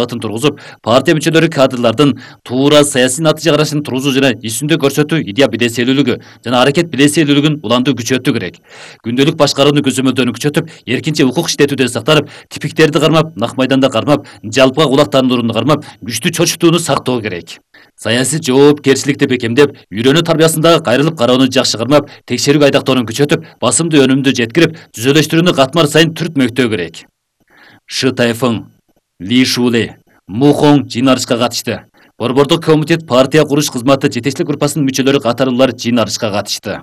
тургузуп, партия мүчөлөрү кадрлардын туура саясий натыйжа карашын тургузуу жана исүндө көрсөтүү идея билесийлүүлүгү жана аракет билесийлүүлүгүн улантуу күчөтүү керек. Күндөлүк башкарууну көзөмөлдөөнү күчөтүп, эркинчи укук иштетүүдөн сактанып, типиктерди кармап, нак майданда кармап, жалпыга кулак таандырууну кармап, күчтүү чочутууну сактоо керек. Саясий жоопкерчиликти бекемдеп, үйрөнүү тарбиясындагы кайрылып кароону жакшы кармап, текшерүүгө айдактоону күчөтүп, басымды өнүмдү жеткирип, түзөлөштүрүүнү катмар сайын түртмөктөө керек. Шы Тайфың, Ли Шуле, Му Хоң жыйналышка катышты. Борбордук комитет партия куруш кызматы жетекчилик группасынын мүчөлөрү катарлуулар жыйналышка катышты.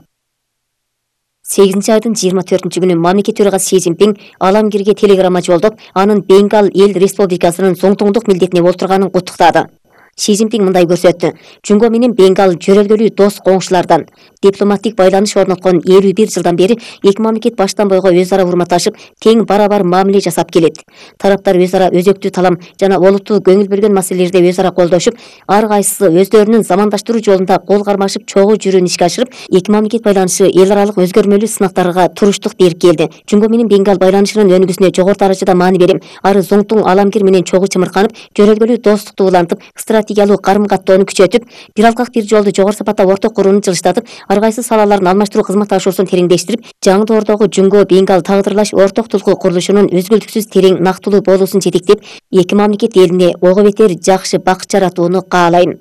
8 айдын 24 күнү мамлекет төрагасы Си Цзиньпин Аламгирге телеграмма жолдоп, анын Бенгал эл республикасынын соңтоңдук милдетине олтурганын куттуктады. Си Цзиньпин мындай көрсөттү: Жунго менен Бенгал жөрөлгөлүү дос коңшулардан. Дипломаттик байланыш орноткон 51 жылдан бери эки мамлекет баштан бойго өз ара урматташып, тең барабар мамиле жасап келет. Тараптар өз ара өзөктүү талам жана олуттуу көңүл бөлгөн маселелерде өз ара колдошуп, ар кайсысы өздөрүнүн замандаштыруу жолунда кол кармашып чогуу жүрүүнү ишке ашырып, эки мамлекет байланышы эл аралык өзгөрмөлүү сынактарга туруштук берип келди. Жунго менен Бенгал байланышынын өнүгүүсүнө жогору даражада маани берем. Ары зоңтуң Аламгир менен чогуу чымырканып, жөрөлгөлүү достукту улантып, стратегиялык карым-каттоону күчөтүп, бир алкак бир жолду жогору сапатта орток курууну жылыштатып, ар кайсы салаларын алмаштыруу кызматташуусун тереңдештирип, жаңы доордогу Жунго Бенгал тагдырлаш орток тулкуу курулушунун үзгүлтүксүз терең нактылуу болуусун жетектеп, эки мамлекет элине ого бетер жакшы бакыт жаратууну каалайм.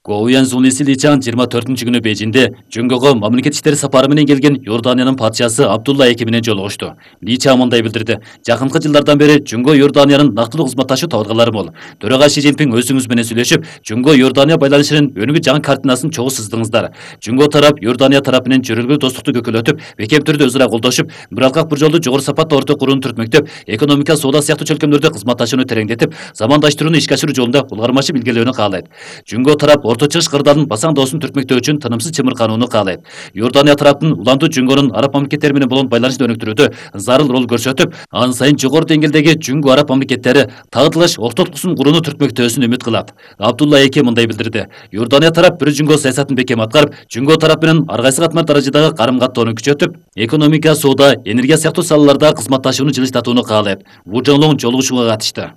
Гоуян Зулиси Личан 24 күнү Бейжинде Жунгого мамлекет иштери сапары менен келген Иорданиянын падышасы Абдулла II менен жолугушту. Личан мындай билдирди: Жакынкы жылдардан бери Жунго Иорданиянын нактылуу кызматташуу табылгалары мол. Төрага Си Цзиньпин өзүңүз менен сүйлөшүп, Жунго Иордания байланышынын өнүгүү жаңы картинасын чогуу сыздыңыздар. Жунго тарап Иордания тарапы менен жөрөлгөө достукту көкөлөтүп, бекем түрдө өз ара колдошуп, бир алкак бир жолду жогору сапатта орток курууну түртмөктөп, экономика, соода сыяктуу чөлкөмдөрдө кызматташууну тереңдетип, замандаштырууну ишке ашыруу жолунда улгармашып илгерилөөнү каалайт. Жунго тарап Орто Чыгыш кырдаалын басаң доосун түртмөктөө үчүн тынымсыз чымырканууну каалайт. Иордания тараптын улантуу Жунгонун араб мамлекеттери менен болгон байланышты өнүктүрүүдө зарыл роль көрсөтүп, ан сайын жогору деңгээлдеги Жунго араб мамлекеттери тагдырлаш ортоктуксун курууну түртмөктөөсүн үмүт кылат. Абдулла II мындай билдирди: Иордания тарап бир Жунго саясатын бекем аткарып, Жунго тарап менен ар кайсы катмар даражадагы карым-каттоону күчөтүп, экономика, соода, энергия сыяктуу салаларда кызматташууну жылыштатууну каалайт. Ву Жоңлоң жолугушууга катышты.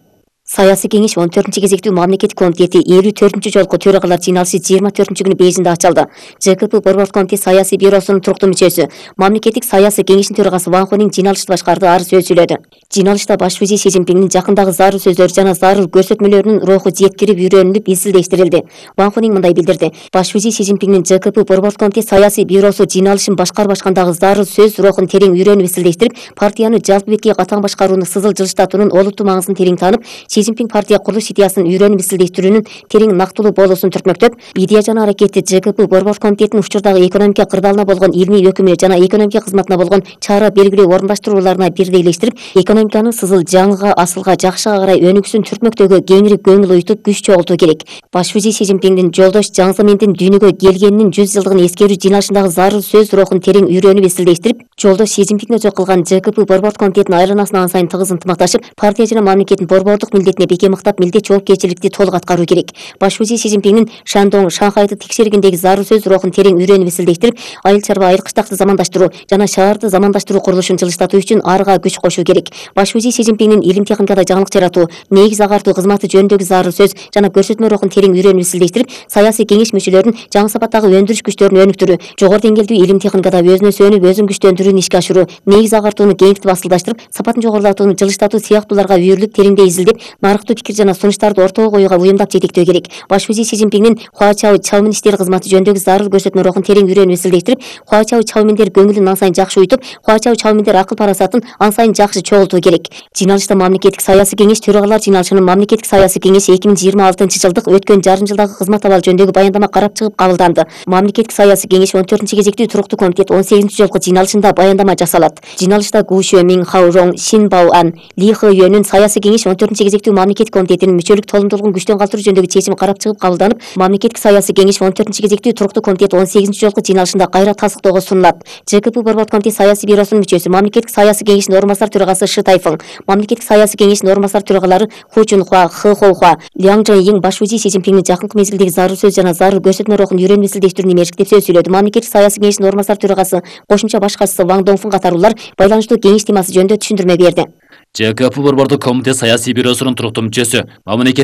Саясий кеңеш 14 кезектүү мамлекеттик комитети 54 жолку төрагалар жыйналышы 24 күнү Бейжинде ачылды. ЖКП борбордук комитет саясий бюросунун туруктуу мүчөсү, мамлекеттик саясий кеңештин төрагасы Ван Хунин жыйналышты башкарды, ары сөз сүйлөдү. Жыйналышта баш вазир Си Цзиньпиндин жакындагы зарыл сөздөрү жана зарыл көрсөтмөлөрүнүн руху жеткирип үйрөнүлүп, изилдештирилди. Ван Хунин мындай билдирди: Баш вазир Си Цзиньпиндин ЖКП борбордук комитет саясий бюросу жыйналышын башкарып ашкандагы зарыл сөз рухун терең үйрөнүп, изилдештирип, партияны жалпы бетке катаң башкарууну сызыл жылыштатуунун олуттуу маңызын терең таанып, Си Цзиньпин партия курулуш идеясын үйрөнүп, изилдештирүүнүн терең нактылуу болуусун түртмөктөп, идея жана аракети ЖКП борбордук комитетинин учурдагы экономика кырдаалына болгон илмий өкүмү жана экономика кызматына болгон чара белгилүү орундаштырууларына бирдейлештирип, экономиканын сызыл жаңыга, асылга, жакшыга карай өнүгүүсүн түртмөктөөгө кеңири көңүл уютуп, күч чогултуу керек. Баш вазир Си Цзиньпиндин жолдош Жаң Земиндин дүйнөгө келгенинин 100 жылдыгын эскерүү жыйналышындагы зарыл сөз рухун терең үйрөнүп, изилдештирип, жолдош Си Цзиньпин өзү кылган ЖКП борбордук комитетинин айланасына ан сайын тыгыз ынтымакташып, партия жана мамлекеттин борбордук милдетине бекем ыктап, милдет жоопкерчиликти толук аткаруу керек. Баш вазир Си Цзиньпиндин Шандong, Шанхайды текшергендеги зарыл сөз рухун терең үйрөнүп, изилдештирип, айыл чарба, айыл кыштакты замандаштыруу жана шаарды замандаштыруу курулушун жылыштатуу үчүн арга күч кошуу керек. Баш вазир Си Цзиньпиндин илим техникада жаңылык жаратуу, негиз агартуу кызматы жөнүндөгү зарыл сөз жана көрсөтмө рухун терең үйрөнүп, изилдештирип, саясий кеңеш мүчөлөрүнүн жаңы сапаттагы өндүрүш күчтөрүн өнүктүрүү, жогору деңгээлдүү илим техникада өзүнө сүйөнүп, өзүн күчтөндүрүүнү ишке ашыруу, негиз агартууну кеңийтип, асылдаштырып, сапатын жогорулатууну жылыштатуу сыяктууларга үйрүлүп, тереңдей изилдеп, нарыктуу пикир жана сунуштарды ортого коюуга уюмдап жетектөө керек. Баш вазир Си Цзиньпиндин Хуачао Чаомин иштери кызматы жөнүндөгү зарыл көрсөтмө рухун терең үйрөнүп, изилдештирип, Хуачао Чаоминдер көңүлүн ан сайын жакшы уютуп, Хуачао Чаоминдер акыл парасатын ан сайын жакшы чогултуу керек. Жыйналышта мамлекеттик саясий кеңеш төрагалар жыйналышынын мамлекеттик саясий кеңеши 2026 жылдык өткөн жарым жылдагы кызмат абалы жөнүндөгү баяндама карап чыгып кабылданды. Мамлекеттик саясий кеңеш 14 кезектүү туруктуу комитет 18 жолку жыйналышында баяндама жасалат. Жыйналышта Гу Шue, Мин Хао Рong, Шин Бао Ан, Ли Хэ Юэнүн саясий кеңеш 14 кезектүү мамлекеттик комитетинин мүчөлүк толумдуулугун күчтөн калтыруу жөнүндөгү чечими карап чыгып кабылданып, мамлекеттик саясий кеңеш 14 кезектүү туруктуу комитет 18 жолку жыйналышында кайра тастыктоого сунулат. ЖКП борбордук комитет саясий бюросунун мүчөсү, мамлекеттик саясий кеңештин орун басар төрагасы Шы Тайфың, мамлекеттик саясий кеңештин орун басар төрагалары Ху Чунхуа, Хэ Хоухуа, Ляң Чжэньин баш вазир Си Цзиньпиндин жакынкы мезгилдеги зарыл сөз жана зарыл көрсөтмө рухун үйрөнүп, изилдештирүүнү мээрчиктеп сөз сүйлөдү. Мамлекеттик саясий кеңештин орун басар төрагасы кошумча баш катчысы Ван Доңфун катарлуулар байланыштуу кеңеш темасы жөнүндө түшүндүрмө берди. ЖКП борбордук комитет саясий бюросунун туруктуу мүчөсү, мамлекет